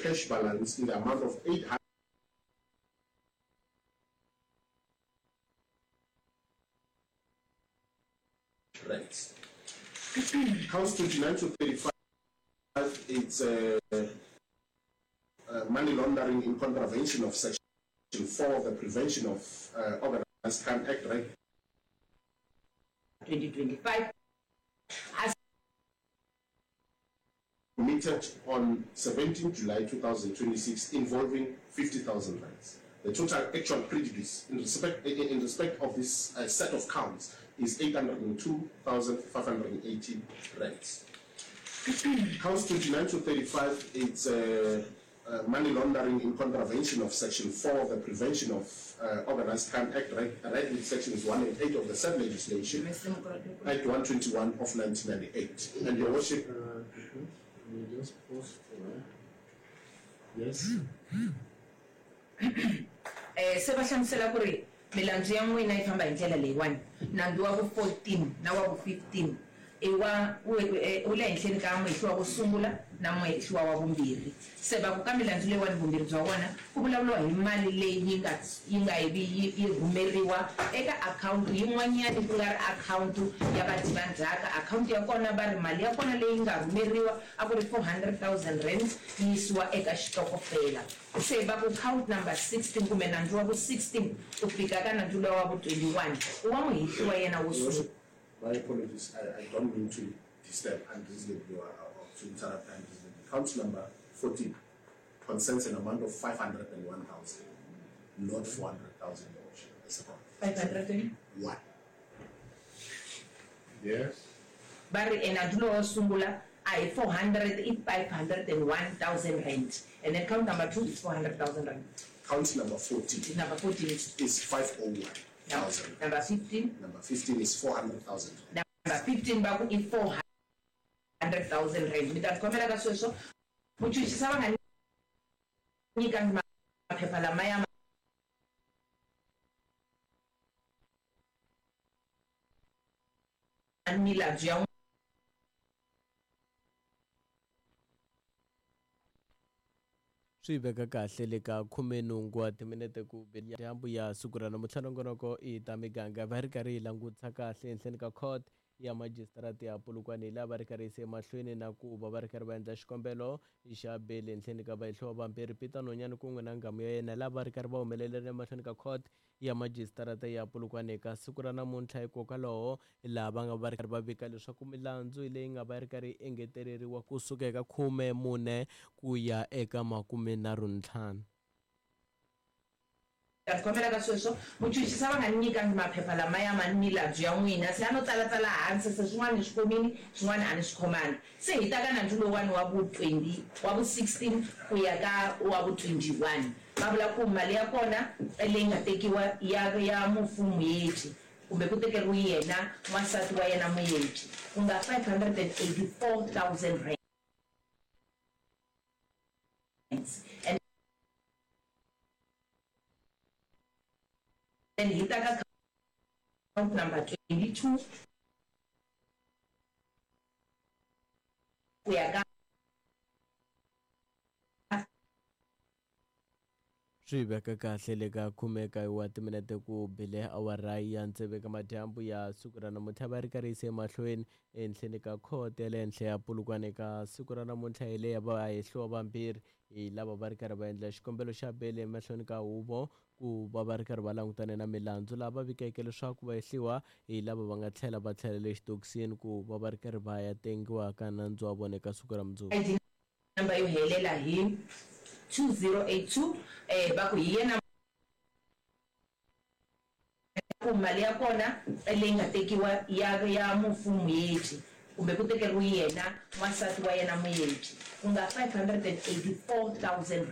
a cash balance in the amount of 800 rands. Counts 29 to 35, it's money laundering in contravention of Section 4 of the Prevention of Organized Crime Act, right? 2025 a Committed on 17 July 2026 involving 50,000 rands. The total actual prejudice in respect of this set of counts is 802,580 rands. Counts 29 to 35, it's money laundering in contravention of Section 4 of the Prevention of Organized Crime Act, read with Sections 1 and 8 of the said legislation, Act 121 of 1998. And Your Worship. Let me just pause for Yes. Se va hlamusela ku ri milandzu ya n'wina yi famba hi ndlela leyiwani, nandzu wa vu 14 na wa vu 15 i wa wu le henhleni ka muhehliwa wo sungula na muhehliwa wa vumbirhi. Se va ku ka milandzu leyiwani vumbirhi bya wona ku vulavuriwa hi mali leyi yi nga yi nga ivi yi yi rhumeriwa eka akhawunti yin'wanyani ku nga ri akhawunti ya vadyi va ndzhaka. Akhawunti ya kona va ri mali ya kona leyi nga rhumeriwa a ku ri R400,000 yi yisiwa eka xitokofela. Se va ku count number 16 kumbe nandzu wa vu 16 ku fika ka nandzu luwa wa vu 21 i wa muhehliwa yena wo sungula. My apologies, I don't mean to disturb unreasonably or to interrupt unreasonably. Count number 14 concerns an amount of 501,000, not 400,000, Your Worship. As a 501? Yes. Va ri e nandzu lowa wo sungula a hi 400 i 501,000 rand and then count number 2 is 400,000 rand. Count number 14. Number 14 is. Is 501,000. Number 15. Number 15 is 400,000. Number 15 va ku i 400,000 rand. Mi ta ni khomela ka sweswo. Muchuchisi a va nga nyikangi maphepha lamaya ma milandzu ya. Swi veka kahle le ka khumenhungu wa timinete ku be dyambu ya siku ra namuntlha. Nongonoko i ta miganga va ri karhi yi langutisa kahle ehenhleni ka court ya majisitarata ya Polokwane hi laha va ri karhi yise emahlweni na ku va va ri karhi va endla xikombelo xa beli ehenhleni ka vahehliwa vambirhi Peter Nonyane kun'we na nghamu ya yena laha va ri karhi va humelerile emahlweni ka court ya majisitarata ya Polokwane eka siku ra namuntlha. Hikokwalaho laha va nga va ri karhi va vika leswaku milandzu leyi nga va yi ri karhi yi engeteleriwa kusuka eka 14 ku ya eka 35. Ta ni khomela ka sweswo, muchuchisi a va nga ni nyikangi maphepha lamaya ma milandzu ya n'wina, se a no tsala-tsala hansi, se swin'wana ni swi khomile, swin'wana a ni swi khomanga. Se hi ta ka nandzu lowuwani wa vu 20, wa vu 16 ku ya ka wa vu 21. Va vula ku mali ya kona leyi nga tekiwa ya ya mufu Moeti kumbe ku tekeriwe yena n'wansati wa yena Moeti ku nga R584 000 and then hi ta ka count number 22 ku ya ka Swi veka kahle le ka 19 wa timinete ku bile awara ya tsevu eka madyambu ya siku ra namuntlha va ri karhi yise emahlweni ehenhleni ka khoto ya le henhla ya Polokwane eka siku ra namuntlha hi leya vahehliwa vambirhi hi lava va ri karhi va endla xikombelo xa bele emahlweni ka huvo ku va va ri karhi va langutane na milandzu laha va vikeke leswaku vahehliwa hi lava va nga tlhela va tlhelela exitokisini ku va va ri karhi va ya tengiwa ka nandzu wa vona eka siku ra mundzuku. ID number yo helela hi 2082 va ku hi yena ku mali ya kona leyi nga tekiwa ya ya mufu Moeti kumbe ku tekeriwe yena n'wansati wa yena Moeti ku nga R584 000.